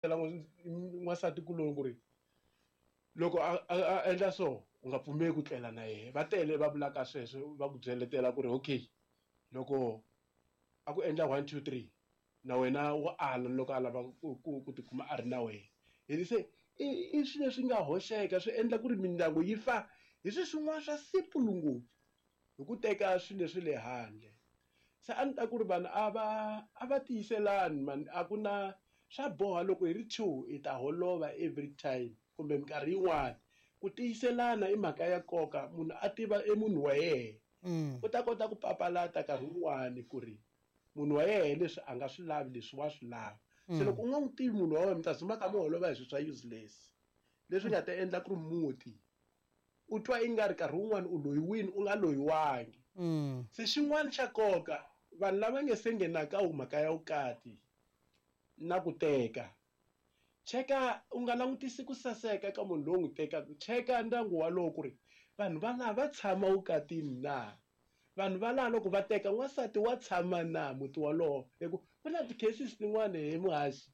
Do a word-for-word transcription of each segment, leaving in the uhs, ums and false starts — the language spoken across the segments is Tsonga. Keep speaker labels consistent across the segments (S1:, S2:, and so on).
S1: N'wansati kuloni ku ri loko a a endla so u nga pfumeli ku tlela na yena. Va tele va vulaka sweswo, va ku byeletela ku ri okay, loko a ku endla one two three na wena wa ala loko a lava ku ku ku tikuma a ri na wena. Hi se i i swilo leswi nga hoxeka, swi endla ku ri mindyangu yi fa hi swilo swin'wana swa simple ngopfu hi ku teka swilo leswi le handle. Se a ni ta ku ri vanhu a va a va tiyiselani mani, a ku na swa boha loko hi ri two hi ta holova every time kumbe minkarhi yin'wani. Ku tiyiselana i mhaka ya nkoka, munhu a tiva e munhu wa yena, u ta kota ku papalata nkarhi wun'wani ku ri munhu wa yena leswi a nga swi lavi leswi wa swi lava. Se loko u nga n'wi tivi munhu wa wena, mi ta dzumba ka mi holova hi swilo swa useless leswi nga ta endla ku ri muti u twa i nga ri nkarhi wun'wani u loyiwini u nga loyiwangi. Se xin'wana xa nkoka, vanhu lava nge se nghenaka mhaka ya vukati na ku teka, cheka u nga langutisi ku saseka ka munhu loyi u n'wi tekaka, cheka ndyangu walowo ku ri vanhu va laha va tshama vukatini na, vanhu va laha loko va teka n'wansati wa tshama na muti walowo. Hi ku ku na ti-cases tin'wani he muhaxi,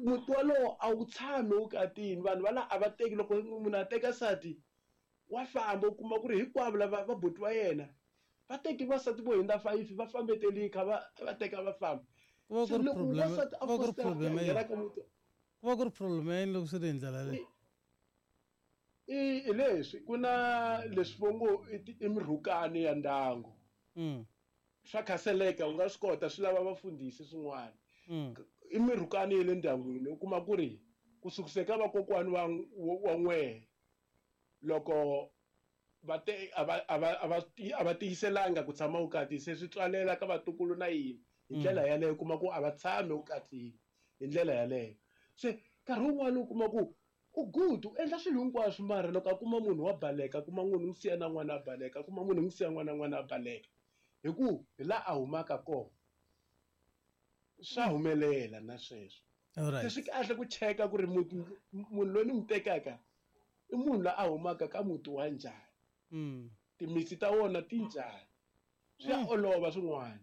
S1: muti walowo a wu tshami vukatini, vanhu va laha a va teki. Loko munhu a teka nsati wa famba, u kuma ku ri hinkwavo lava va buti wa yena va teki vasati vo hundza five, va fambeteli kha va va teka va famba.
S2: Ku va ku
S1: Se
S2: ri
S1: loko
S2: problem,
S1: n'wansati a
S2: ku va ku ri
S1: fositela ku ya
S2: problem
S1: nghena
S2: yini?
S1: ka muti,
S2: Ku va ku ri problem yini loko swi ri hi ndlela leyi?
S1: I hi leswi ku na leswi vo ngo i i mirhukani ya ndyangu. Swa khaseleka, u nga swi kota, swi lava vafundhisi swin'wana. I mirhukani ya le ndyangwini, u kuma ku ri ku sukisa ka vakokwani wa wa n'wehe loko va te a va a va a va a va tiyiselanga ku tshama vukati, se swi tswalela ka vatukulu na yini hi ndlela yaleyo. U kuma ku a va tshami vukatini hi ndlela yaleyo. Se nkarhi wun'wani u kuma ku u good, u endla swilo hinkwaswo, mara loko a kuma munhu wa baleka, a kuma munhu n'wi siya na n'wana a baleka, a kuma munhu n'wi siya n'wana n'wana a baleka, hi ku hi laha a humaka kona swa humelela na sweswo. Se swi kahle ku cheka ku ri muti munhu loyi ni n'wi tekaka i munhu loyi a humaka ka muti wa njhani, timitsi ta wona ti njhani. Swi ya olova swin'wana,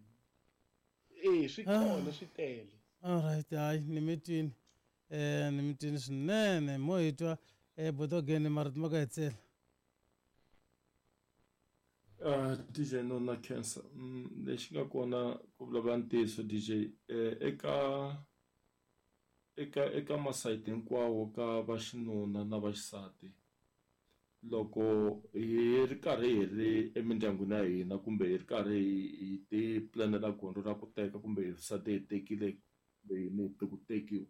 S1: e swi kona swi tele.
S2: Alright, hayi ni mi twini, eh ni mi twini swinene. Mo hi twa eh botogeni marito ma ka hi tsela.
S3: Uh, D J no na cancer. Mm, lexi nga kona ku vulavula ntiyiso D J, eh, eka eka eka masayiti hinkwawo ka vaxinuna na vaxisati, loko hi ri karhi hi ri emindyangwini ya hina kumbe hi ri karhi hi ti planela gondzo ra ku teka kumbe hi nsati hi tekile kumbe hi muti ku tekiwa,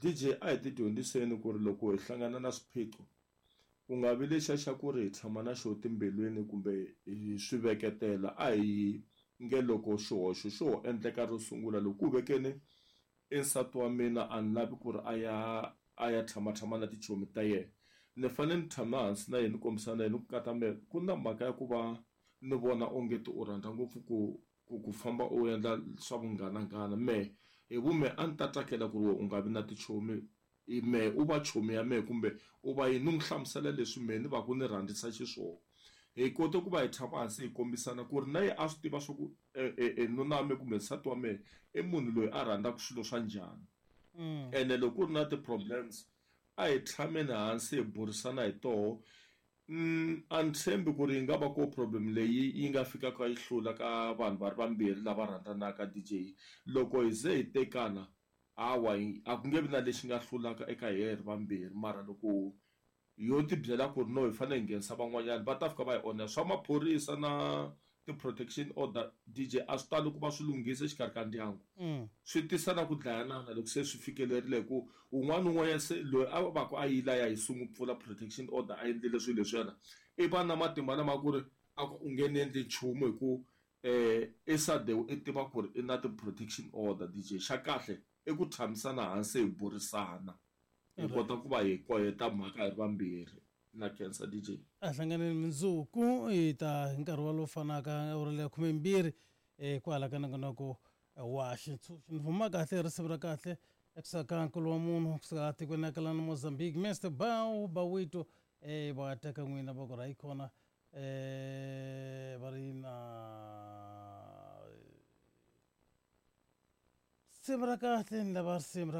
S3: D J a hi ti dyondziseni ku ri loko hi hlangana na swiphiqo ku nga vi lexiya xa ku ri hi tshama na xo timbilwini kumbe hi swi veketela. A hi nge loko xihoxo xo ho endleka ro sungula, loko ku vekeni i nsati wa mina a ni lavi ku ri a ya a ya tshamatshama na tichomi ta yena, ni fanele ni tshama hansi na yena ni kombisana na yena ni ku kata mehe ku na mhaka ya ku va ni vona onge ti u rhandza ngopfu ku ku ku famba u endla swa vunghananghana. Mehe hi vumehe a ni ta tsakela ku ri wena u nga vi na tichomi, mehe u va chomi ya mehe kumbe u va yini, ni n'wi hlamusela leswi mehe ni va ku ni rhandzisa xiswona. Hi kote ku va hi tshama hansi hi kombisana ku ri na yena a swi tiva swa ku nuna wa mehe kumbe nsati wa mehe i munhu loyi a rhandzaka swilo swa njhani. Ene loko ku ri na ti-problems a hi tshameni hansi hi burisana hi toho. A ni tshembi ku ri yi nga va ko problem leyi yi nga fikaka yi hlula ka vanhu va ri vambirhi lava rhandzanaka D J. Loko hi ze hi tekana, hawa a ku nge vi na lexi nga hlulaka eka hina hi ri vambirhi, mara loko yo ti byela ku ri no hi fanele hi nghenisa van'wanyana va ta fika va hi onha. Swa maphorisa na ti-protection order D J a swi tali ku va swi lunghisa exikarhi ka ndyangu, swi tisa na ku dlayanana loko se swi fikelerile, hi ku un'wana na un'wanyana se loyi a va ku a yila ya hi sungula pfula protection order a endlile swilo leswiyana, i va na matimba lama ku ri a ku u nge ni endli nchumu hi ku i sade i tiva ku ri i na ti-protection order D J. Xa kahle i ku tshamisana hansi hi burisana, hi kota ku va hi koyeta mhaka hi ri vambirhi. Na khensa D J.
S2: A hlanganeni mundzuku hi ta hi nkarhi walowu fanaka awara leya khumembirhi eh kwala ka nongonoko wa xitshunxo. Ni huma kahle risimu ra kahle ekusuka ka nkulu wa munhu kusuka tikweni ra ka Mozambique, Mister Bao Bawito, eh va teka n'wina va ku ra yi kona, eh va ri na Risimu ra kahle ni lava risimu ra.